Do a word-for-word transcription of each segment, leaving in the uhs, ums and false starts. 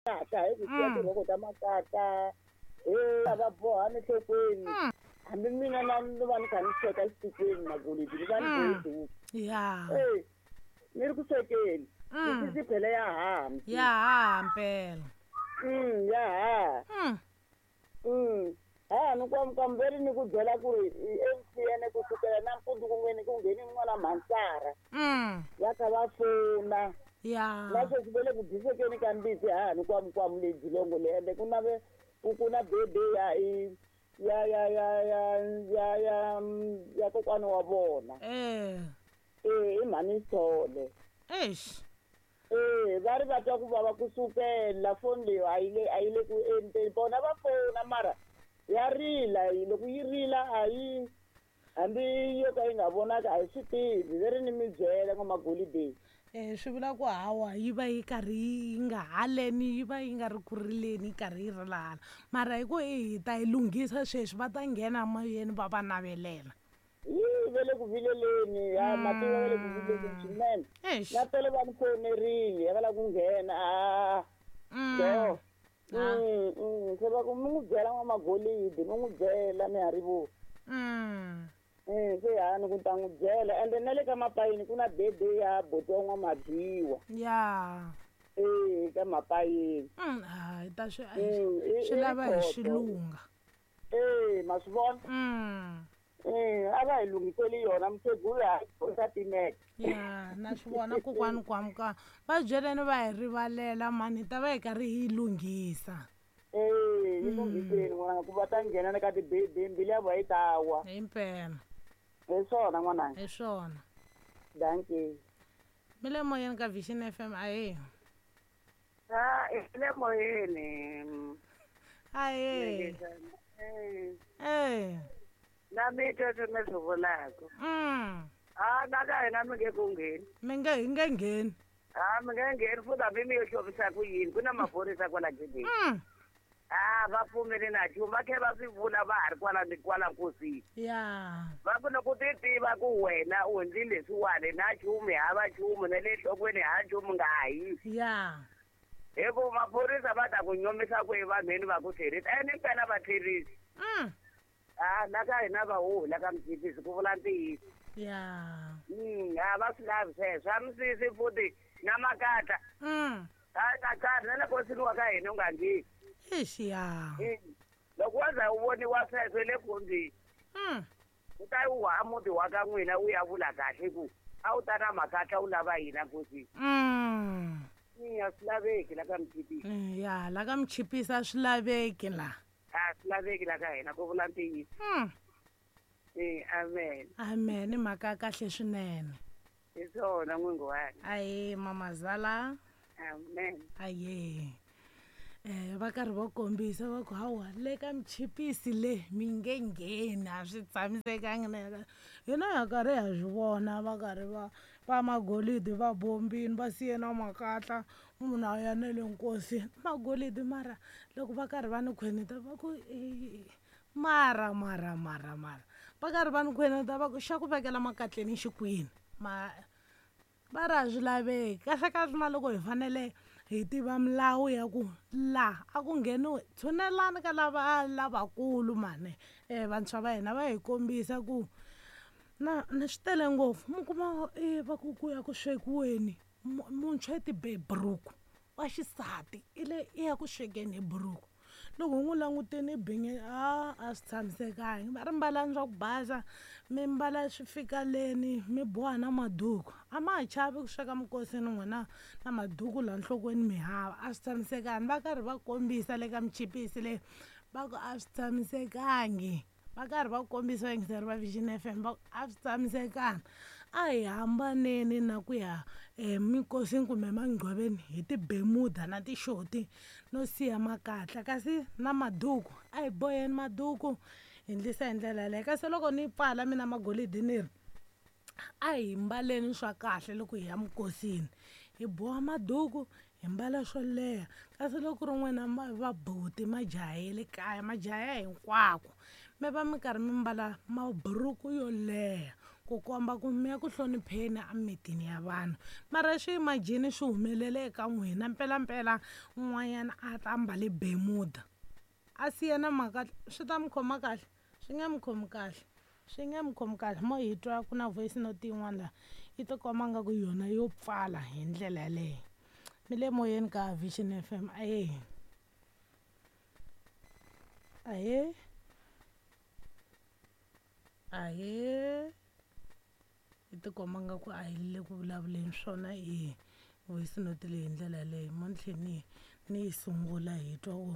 Kahle hi ku siya Mm. tirhoko ta makatla he a va boha enhlokweni. Mm. Hambi mina na ni va ni kha ni sweka xitikweni magolidi ni va ni Mm. bohe duku. Ya. E ni ri ku swekeni. Mm. Misisi phela ya haha msisi. Ya haha mpela. Mm, ya haha. Mm. Mm. Ha ni kwam kamberi ni ku byela ku ri i M T N ku sukela nampundzu ku ngheni ku ngheni n'wana mhansara. Mm. Va kha va fona. Ya. Na sweswi va le ku disekeni ka mbitsi ha ni kwam kwam le Dzilongo le ende ku na ve ku ku na bebe ya i ya ya ya ya ya ya ya kokwana wa vona. Eh. Eh, i mhani Sithole. Eish. Eh, va ri va twa ku vava kusukela foni leyi a yi le a yi le ku endleni vona va fona mara ya rila loko yi rila a yi hambi yo ka yi nga vonaki a hi swi tivi ve ri ni mi byela n'wamagolideni. Eh swi vula ku hawa yi va yi karhi yi nga haleni yi va yi nga ri ku rileni yi karhi yi rilana mara hi ku hi ta yi lunghisa sweswi va ta nghena moyeni va va navelela. Yi ve le ku vileleni ya mativa va le ku vileleni swinene. Eish. Na tolo va ni fonerile va lava ku nghena a Mm. do. Ah. Mm, mm, se va ku mi n'wi byela n'wamagolidi mi n'wi byela mi ha ri vo. Mm. Eh, se ha ni ku ta n'wi byela ende na le ka mapayini ku na bebe ya buti wa n'wamadyiwa. Ya. Eh, ka mapayini. Mm, hayi ta swi Mm, i- swi i lava hi rikhoto. xilunga. Eh, ma swi vona? Mm. Eh, a va hi lunghiseli yona mukhegulu ha yi timeke. Ya, na swi vona kokwani kwamuka va byeleni va hi rivalela mani hi ta va hi karhi hi yi lunghisa. Eh, yi lunghiseni n'wananga ku va ta nghena na ka tibebe mbilu ya vona yi ta wa. Hi mpela. Hi swona n'wananga. Hi swona. Dankie. Mi le moyeni ka Vision F M ahee. Ah, hi le moyeni. Ahee. Eh. Eh. Na mi twa leswi mi swi vulaka. Mm. Ah, na ka hina mi nge ku ngheni. Mi nge hi nge ngheni. Ah, mi nge ngheni futhi hambi mi yo xovisa ku yini ku na maphorisa kwala gedeni. Mm. Ah, va pfumeli na nchumu va tlhela va swi vula va ha ri kwala ni kwala nkosini. Ya. Va ku loko ti tiva ku wena u endli leswiwani na nchumu hava nchumu na le nhlokweni ha nchumu nga ha yi. Ya. Hi ku maphorisa va ta ku nyomisa ku evanhwini va ku tlherisa ene impela va tlherisa. Mm. Ah, la ka hina va huhi la ka Mjikisi ku vula ntiyiso. Ya. Mm, a va swi lavi sweswo swa misisi futhi na makatla. Mm. A makatla na le nkosini wa ka hina u nga ngheni. Eish ya. Mm. Loko wa za u voniwa sweswo le khombyeni. Mm. U ta wu ha muti wa ka n'wina u ya vula kahle ku a wu ta na makatla u lava yina nkosini. Mm. Mm, a swi laveki la ka Mchipisi. Mm, ya, la ka Mchipisi a swi laveki la. A swi laveki la ka hina ku vula ntiyiso. Mm. Eh, amen. Amen, i mhaka ya kahle swinene. Hi swona n'wingi wanga. Ahee, mamazala. Amen. Ahee. Eh, va karhi va kombisa va ku hawa le ka Mchipisi le mi nge ngheni a swi tshamisekangi na hina ha karhi ha swi vona va karhi va va magolidi va bombini va siye na makatla munhu a ya na le nkosini magolidi mara loko va karhi va ni khwenita va ku e mara mara mara mara va karhi va ni khwenita va ku xa ku vekela makatleni xikwini ma va ri a swi laveki kahle kahle na loko hi fanele hi tiva milawu ya ku laha a ku ngheniwi tshunelani ka lava lavakulu mani eh vantshwa va hina va hi kombisa ku na ni swi tele ngopfu mi kuma e va ku ku ya ku swekiweni muntshwa i tibe buruku wa xisati i le i ya ku swekeni hi buruku loko hi n'wi languteni binye a a swi tshamisekangi va ri mbalani swa ku basa mi mbala swi fika leni mi boha na maduku a ma ha chavi ku sweka minkosini n'wina na maduku laha nhlokweni mi hava a swi tshamisekangi va karhi va kombisa le ka Mchipisi le va ku a swi tshamisekangi va karhi va kombisa vayingiseri va Vision F M va ku a swi tshamisekangi a hi hambaneni na ku ya eminkosini kumbe emangcwabeni hi tibemuda na tixoti no siya makatla kasi na maduku a hi boheni maduku hi endlisa hi ndlela yaleyo kasi loko ni pfala mina magolidi ni ri a hi mbaleni swa kahle loko hi ya minkosini hi boha maduku hi mbala swo leha kasi loko ku ri n'wina vabuti majaha ya le kaya majaha ya hinkwako mi va mi karhi mi mbala maburuku yo leha ku komba ku mi ya ku hlonipheni emimitini ya vanhu. Mara swi imagine swi humelele eka n'wina mpelampela un'wanyana a ta ambale bemuda a siya na mhaka, swi ta mi khoma kahle? Swi nge mi khomi kahle, swi nge mi khomi kahle. Mo hi twa ku na voice note yin'wana laha yi ti komba nga ku yona yo pfala hi ndlela yaleyo. Mi le moyeni ka Vision F M. Ahee, ahee, ahee. Yi ti komba nga ku a hi le ku vulavuleni swona i voice note leyi hi ndlela yaleyo. Mo ni tlhe ni ni yi sungula hi twa ku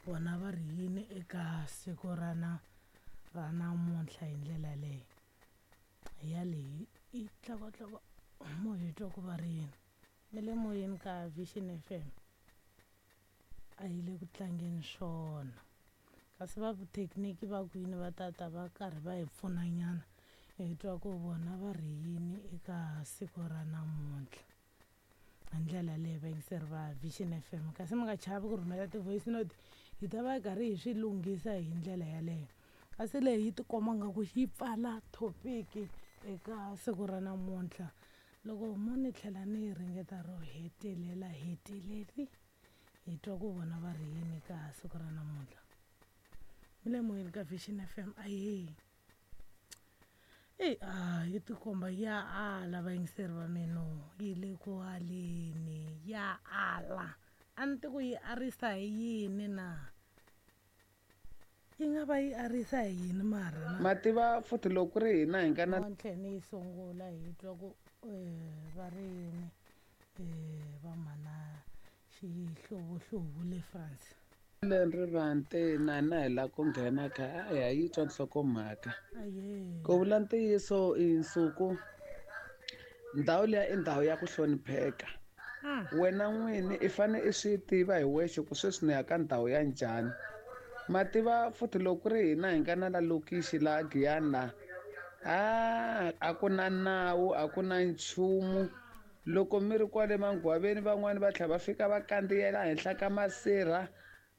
vona va ri yini eka siku ra na ra namuntlha hi ndlela yaleyo. Hi ya leyi yi tlokotloko mo hi twa ku va ri yini. Mi le moyeni ka Vision F M. A yi le ku tlangeni swona, kasi va vuthekiniki va kwini va tata va karhi va hi pfunanyana hi twa ku vona va ri yini eka siku ra namuntlha hi ndlela leyi vayingiseri va Vision F M. Kasi mi nga chavi ku rhumela ti-voice note, hi ta va hi karhi hi swi lunghisa hi ndlela yaleyo. Kasi leyi yi tikomba nga ku yi pfala topic eka siku ra namuntlha. Loko mo ni tlhela ni ringeta ro hetelela heteleli hi twa ku vona va ri yini ka siku ra namuntlha. Mi le moyeni ka Vision F M. Ahee, eyi a yi tikomba ya ala vayingiseri va mina, yi le ku aleni, ya ala. A ni tivi ku yi arisa hi yini na, yi nga va yi arisa hi yini mara na? Mativa futhi loko ku ri hina hi nga na Mo ni tlhe ni yi sungula hi twa ku va ri yini va mhana xihlovohlovo le France. Leri na na hi lava ku nghena kha a hi yi twa nhlokomhaka. Ku vula ntiyiso i nsuku ndhawu liya i ndhawu ya ku hlonipheka. Wena n'wini i fane i swi tiva hi wexe ku sweswi ni ya ka ndhawu ya njhani. Mativa futhi loko ku ri hina hi nga na la lokixi laha Giyani laha, a a ku na nawu, a ku na nchumu. Loko mi ri kwale mangwaveni van'wani va tlhela va fika va kandziyela henhla ka masirha,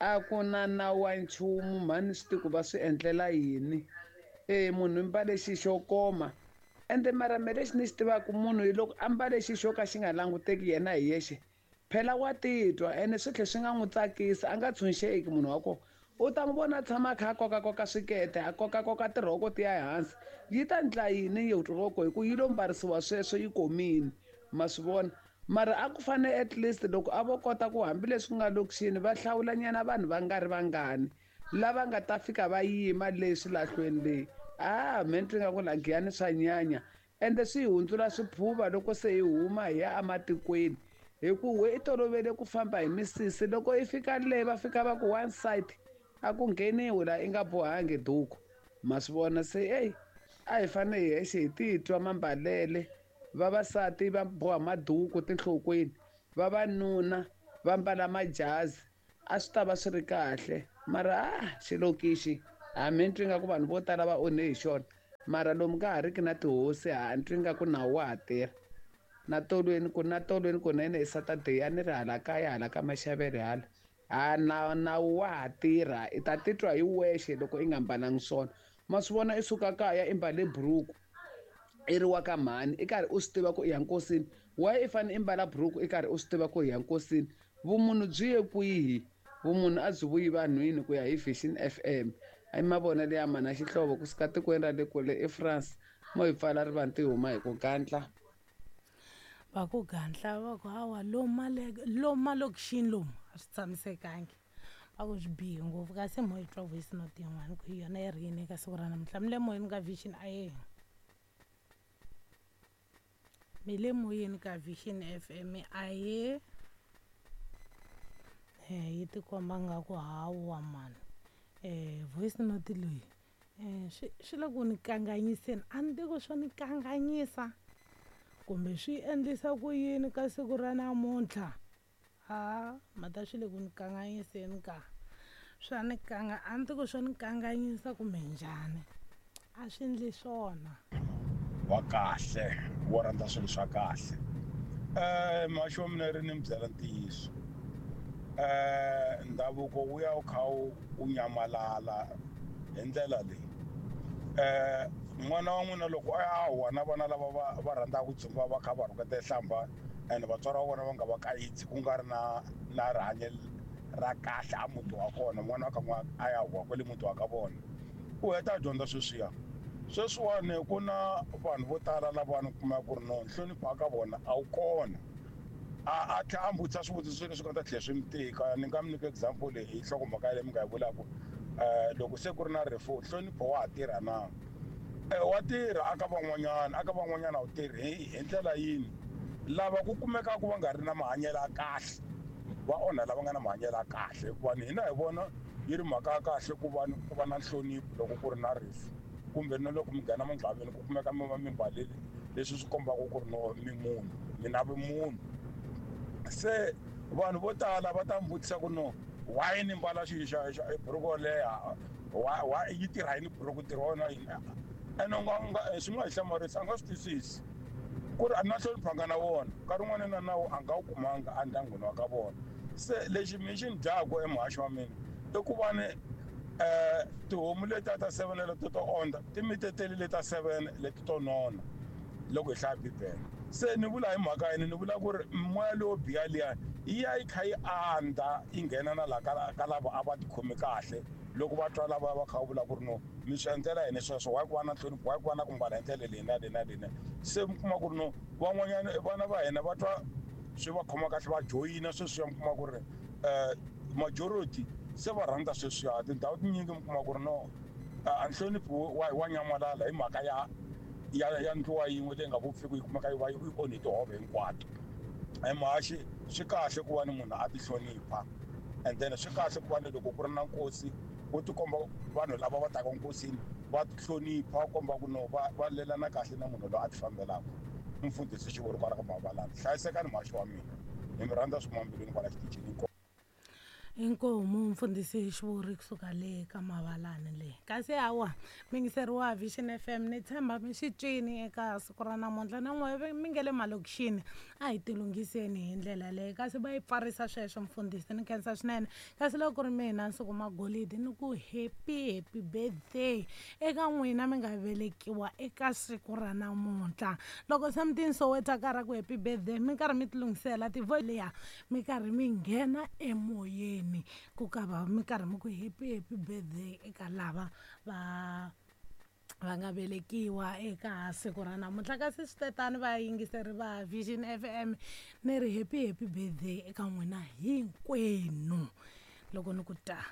a ku na nawu wa nchumu. Mhani swi tivi ku va swi endlela yini. E munhu i mbale xi xo koma, ende mara me lexi ni xi tivaka munhu hi loko a mbale xi xo ka xi nga languteki yena hi yexe, phela wa titwa ene swi tlhela swi nga n'wi tsakisi, a nga tshunxeki munhu wa kona. U ta n'wi vona a tshama a kha a kokakoka swikete, a kokakoka tirhoko ti ya ehansi. Yi ta endla yini rhoko hi ku yi lo mbarisiwa sweswo yi komile, ma swi vona. Mara a ku fanele at least loko a vo kota ku hambileswi ku nga lokixini va hlawulanyana vanhu va nga ri vangani lava nga ta fika va yima leswi lahlweni leyi. Ah, me ni twi nga ku la Giyani swa nyanya, ende swi hi hundzula swiphuva loko se hi huma hi ya ematikweni. Hi ku we i tolovele ku famba hi misisi, loko i fika le va fika va ku one side a ku ngheniwi laha i nga bohangi duku, ma swi vona. Se eyi a hi fanele hi hexe hi titwa mambalele. Vavasati va boha maduku tinhlokweni, vavanuna va mbala majazi, a swi ta va swi ri kahle. Mara a xilokixi hambi ni twi nga ku vanhu vo tala va onhe hi xona, mara lomu ka ha ri ki na tihosi ha ni twi nga ku nawu wa ha tirha. Na tolweni ku na tolweni kunene hi Saturday a ni ri hala kaya hala ka Maxavele hala, ha na nawu wa ha tirha. I ta titwa hi wexe loko i nga mbalangi swona. Ma swi vona i suka kaya i mbale buruku i ri wa ka mhani, i karhi u swi tiva ku i ya nkosini. Why i fanele i mbala buruku i karhi u swi tiva ku i ya nkosini? Vumunhu byi ye kwihi? Vumunhu a byi vuyi vanhwini ku ya hi Vision F M. I mavonelo ya mana Xihlovo kusuka tikweni ra le kule eFrance. Mo hi pfala rivanti huma hi ku gandla. Va ku gandla va ku hawa lomu lomu malokixini lomu a swi tshamisekangi, va ku swi bihe ngopfu. Kasi mo hi twa voice note yin'wana ku hi yona yi ri yini eka siku ra namuntlha. Mi le moyeni ka Vision a mi le moyeni ka Vision F M ahee. Yi tikomba nga ku hawa mani voice note leyi swi swi le ku ni kanganyiseni. A ni tivi ku swo ni kanganyisa kumbe swi endlisa ku yini ka siku ra namuntlha. Ha mata swi le ku ni kanganyiseni ka swa ni kanga, a ni tivi ku swo ni kanganyisa kumbe njhani, a swi endli swona. Wa kahle wo rhandza swilo swa kahle. Eh maxo wa mina ri ni mi byela ntiyiso. Eh ndhavuko wu ya wu kha wu nyamalala hi ndlela leyi. Eh N'wana wa n'wina loko a ya huwa na vana lava va va rhandzaka ku dzumba va kha va rhuketa hlamba and vatswari va vona va nga va kayitsi ku nga ri na na rihanyo ra kahle a muti wa kona, n'wana wa ka n'wana a ya huwa kwale muti wa ka vona, u heta a dyondza sweswiya. Sweswiwani ku na vanhu vo tala lava ni kumaka ku ri no nhlonipho ka vona a wu kona. A a tlhela a vutisa swivutiso leswi nga ta tlhela swi mi tika. Ni nga mi nyika example hi nhlokomhaka leyi mi nga yi vulaka, loko se ku ri na rifu nhlonipho wa ha tirha na? Wa tirha aka van'wanyana, aka van'wanyana a wu tirhi hi ndlela yini? Lava ku kumekaka va nga ri na mahanyelo ya kahle va onha lava nga na mahanyelo ya kahle, hikuva ni hina hi vona yi ri mhaka ya kahle ku va ku va na nhlonipho loko ku ri na rifu, kumbe na loko mi nghena mungcwabeni ku kumeka mi va mi mbalele leswi swi kombaka ku ri no mi munhu, mi na vumunhu. Se vanhu vo tala va ta mi vutisa ku no why ni mbala xilo xa xa buruku yo leha, why yi tirha yini buruku, ntirho wa yona yini? Ene u nga nga swi nga hi hlamarisa, a nga swi twisisi ku ri a na nhlonipho a nga na wona, nkarhi wun'wana na nawu a nga wu kumanga endyangwini wa ka vona. Se lexi mi xi ni dyaka emuhaxi wa mina i ku va ni tihomu letiya ta seven leto to ondza ti miteteli leta seven leti to nona loko hi hlaya Bibele. Se ni vula hi mhaka yini? Ni vula ku ri moya lowo biha liya yi ya yi kha yi andza yi nghena na laha ka ka lava a va tikhomi kahle, loko va twa lava va kha va vula ku ri no mi swi endlela yini sweswo, why ku va na nhlonipho, why ku va na ku mbala hi ndlela leyi na leyi na leyi. Se mi kuma ku ri no van'wanyana vana va hina va twa swi va khoma kahle va joyina sweswiya, mi kuma ku ri majority se va rhandza sweswiya. Tindhawu tinyingi mi kuma ku ri no a nhlonipho wa wa nyamalala hi mhaka ya ya ya ndluwa yin'we leyi nga vupfiki yi kumeka yi va yi onhe tihove hinkwato. Emuhaxi swi kahle ku va ni munhu a ti hlonipha, and then swi kahle ku va ni loko ku ri na nkosi wo tikomba vanhu lava va taka nkosini va ti hlonipha, va komba ku no va va lelana kahle na munhu loyi a ti fambelaka. Mfundhisi Xivuri kwala ka Mavalani, hlayisekani muhaxi wa mina, hi mi rhandza swin'wana mbilwini kwala xitichini. Inkomu mfundhisi Xivuri kusuka le ka Mavalani le. Kasi hawa mingiseri wa Vision F M ni tshemba mi xi twini eka siku ra namuntlha na n'we mi nge le malokixini, a hi tilunghiseni hi ndlela leyi. Kasi va yi pfarisa sweswo mfundhisi, ni khensa swinene. Kasi loko ku ri mina Nsuku Magolidi ni ku happy happy birthday eka n'wina mi nga velekiwa eka siku ra namuntlha. Loko something Soweto ka ra ku happy birthday mi karhi mi tilunghisela tivo liya mi karhi mi nghena emoyeni ku ka va mi karhi mi ku happy happy birthday eka lava va va nga velekiwa eka siku ra namuntlha. Kasi swi tetani vayingiseri va Vision F M ni ri happy happy birthday eka n'wina hinkwenu loko ni ku ta.